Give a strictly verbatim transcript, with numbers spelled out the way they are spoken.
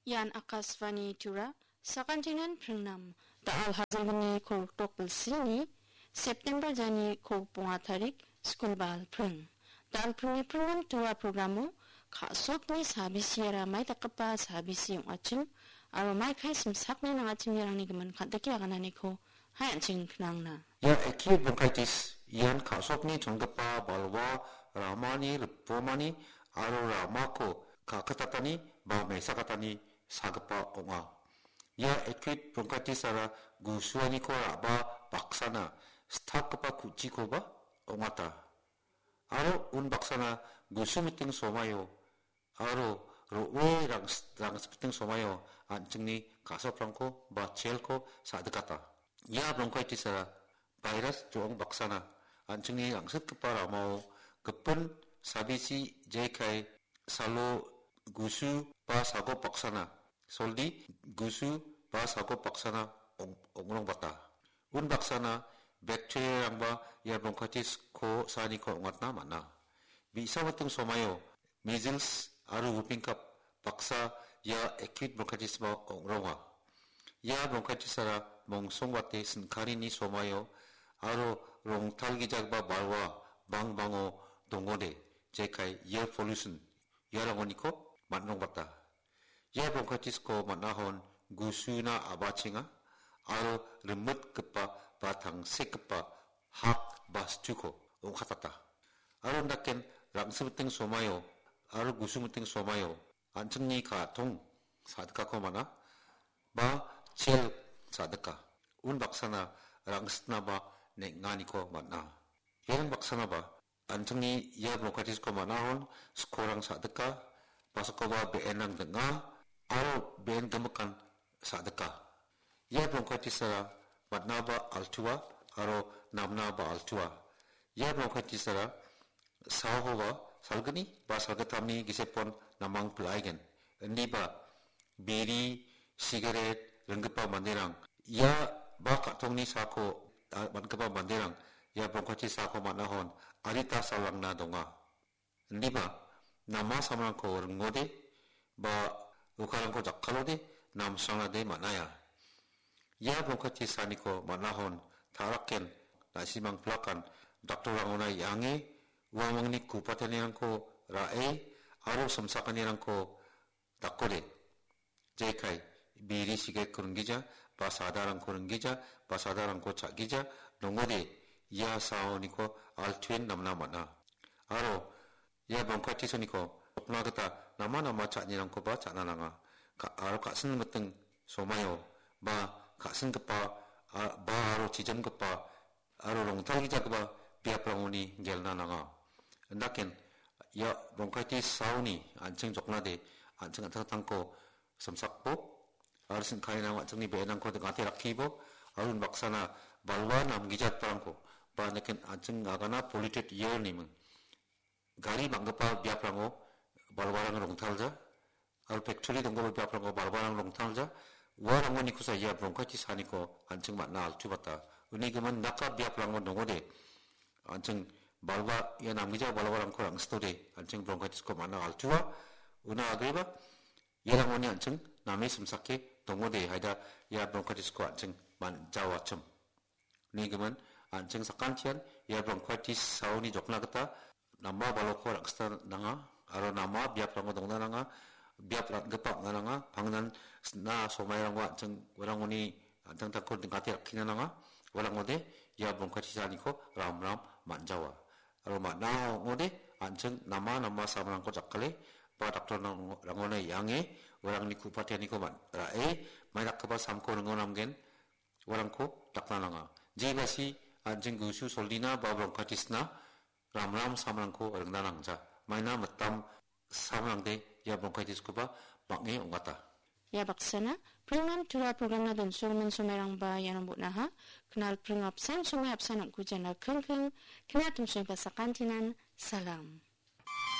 Ian Akashvani Tura, sakantinan pringnam. Da·al hajalgni kolgrikdok bilsini, September jani kolgrikbonga tarik, skulbal pring. Da·al pringni pringnam Tura programo, ka·sokni sabisiara mai dakgipa sabisi ong·achim, aro mai kai simsakni nang·achimnirangni gimin kandike agananiko hai an·ching knangna. Ia acute bronchitis ian ka·sokni chongipa balwa ramani ripomani aro ramako ka·kitatani ba mesakatani sagipa ong·a. Ia acute bronchitis-ara gusuaniko ra·ba baksana stapgipa ku·chikoba ong·ata. Aro unbaksana gusu miting somaio aro ro·e rangs-, rangsipting somaio an·chingni ka·soprangko ba chelko sa·dikata. Ia bronchitis-ara virus jo·ong baksana an·chingni rangsitgipa ramao gipin sabisi jekai salo gusu ba sagop baksana, soldi gusu ba sagop baksana ong-, ong·rongbata. Unbaksana bacteria-rangba ia bronchitis-ko saaniko ong·atna man·a. Bi·sa miting somaio measles aro whooping cough baksa ia acute bronchitis-ba ong·ronga. Ia bronchitis-ara mongsongbate sin·karini somaio aro rongtalgijagipa balwa bangbango dongode, jekai air pollution, iarangoniko man·rongbata. Ia bronchitis-ko man·ahon gusuna a·bachenga aro rimitgipa ba tangsekgipa hak ba situko ong·katata. Aro undaken rangsimiting somaio aro gusumiting somaio an·chingni ka·tong sa·dikako man·a ba chel sa·dika. Unbaksana rangsitnaba neng·aniko man·a. Ian baksanaba an·chingni ia bronchitis-ko man·ahon skorang sa·dika, basakoba be·enrang ding·a, aro be·en gimikan sa·dika. Ia bronchitis-ara man·aba altua aro namnaba altua. Ia bronchitis-ara saokoba salgni ba salgittamni gisepon namang pil·aigen. Indiba biri, sigaret ringgipa manderang ia ba ka·tongni sako, a, man·gipa manderang ia bronchitis sako man·ahon adita salrangna donga. Indiba nama samrangko ringode ba ukarangko jakkalode namsrangnade man·aia. Ia bronchitis saniko man·ahon ta·raken, na·simang pilakan, daktorrangona iange, uamangni kupatanirangko ra·e aro simsakanirangko dakode. Jekai, biri sigaretko ringgija, ba sadarangko ringgija, ba sadarangko cha·gija, nongode ia saoniko altuen namna man·a. Aro ia bronchitis-oniko sokna gita nama nama cha·anirangkoba cha·na nanga. Ka-, aro ka·sin miting somaio ba ka·singipa, a-, ba aro chijemgipa aro rongtalgijagipa biaprangoni gelna nanga. Indaken ia bronchitis saoni an·ching joknade an·ching an·tangtangko simsakbo aro sin·kaenang an·chingni be·enrangko ding·ate rakkibo aro unbaksana balwa namgijagiparangko ba indaken an·ching agana polluted air-ni ming gari bang·gipa biaprango balwarang rongtalja, aro factory donggipa biaprango balwarang rongtalja, uarangonikosa ia bronchitis saniko an·ching man·a altubata. Uni gimin daka biaprango dongode, an·ching balwa, ia namgija balwarangko rangsitode, an·ching bronchitis-ko man·a altua. Una agreba, iarangoni an·ching name simsake dongode, haida ia bronchitis-ko an·ching man-, jaoachim. Nigimin, an·ching sakantian ia bronchitis saoni jokna gita nama baloko rangsita nanga, aro nama biaprango dongna nanga, biap ra·gipa ong·na nanga, pangnan sina somairangko an·ching uarangoni an·tangtangko dingate rakkina nanga, uarangode ia bronchitis saniko ramram man·jawa. Aro man·a ong·ode an·ching nama nama samrangko jakkale ba daktor rang-, rangona iange uarangni ku·patianiko man-, ra·e, mai dakgipa samko ringo namgen, uarangko dakna nanga. Jebasi an·ching gusu soldina ba bronchitis-na ramram samrangko ringna nangja. Maina mitam samrangde ia bronchitis-koba bang·e ong·ata. Ia baksana, pringnam tura program-na donsogimin somairangba iano bon·aha. Knal pring apsan somai apsan ong·kujana kringkring, kna tumsongba sakantinan, salam.